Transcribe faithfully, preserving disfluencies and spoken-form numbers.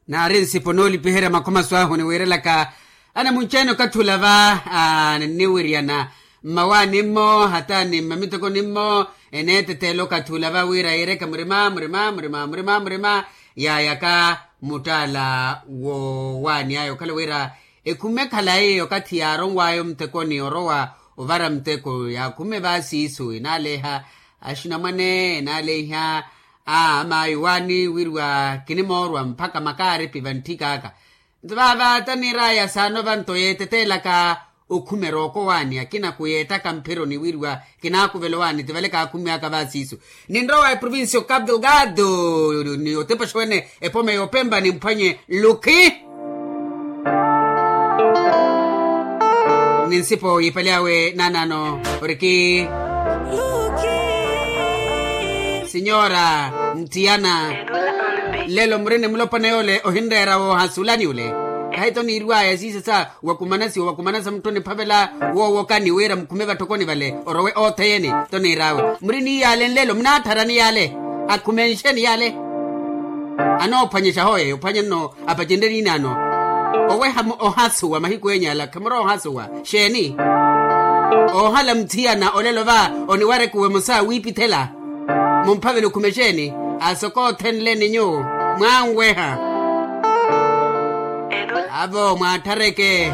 Naari nsipo noolipiherya makhomaso ahu niwiirelaka anamunci-ene okathi ula va. Ninniwiryana mmawaani-mmo hata ni mmamiteko-ni-mmo, eneeteteela okathi ula va wira yiireke murima murima murima murima murima, yaayaka muttaala woowaani aya okhala wira ekhume khalayi okathi yaaronw'aya omuteko ni orowa ovara muteko yaakhume va siiso enaaleha axinamwane enaaleha. Aa amaayi owaani wiriwa kinimoorwa mpakha makaaripi vantthik'aka. Nto vaava taniir'aya saano vanto yeeteteelaka okhume rooko owaani akina kuyeettaka mphironi wiriwa kinaakuvela owaani ti vale kaakhumiw'aka va siiso. Ninrowa eprovincia o capu delgado ni otepaxa wene epome yoopempa nimphwanye lukhi. Ni nsipo yiipale awe naanaano oriki sinyora nthiyana. Lelo muri ni mulopwana yoole ohinreera woohasulani ole. Kahi to niiriw'aya siisesa wakumanasiwa wakumanasa mutto niphavela woowokani wira mukhume vatthokoni vale orowe otheyeni. To niir'awe muri niiyale nlelo munaatthara niyale akhumenxeni yale. Anoophwanyexa hooye ophwanye nno apacenrye niinaano. Oweha ohasuwa mahiku enya ala khamurowa ohasuwa xeeni? Oohala muthiyana olelo va oniwareke owemosa wiipithela mumphavela okhumexeeni? Asokothenleni nyuwo mwanweha. Avo mwaatthareke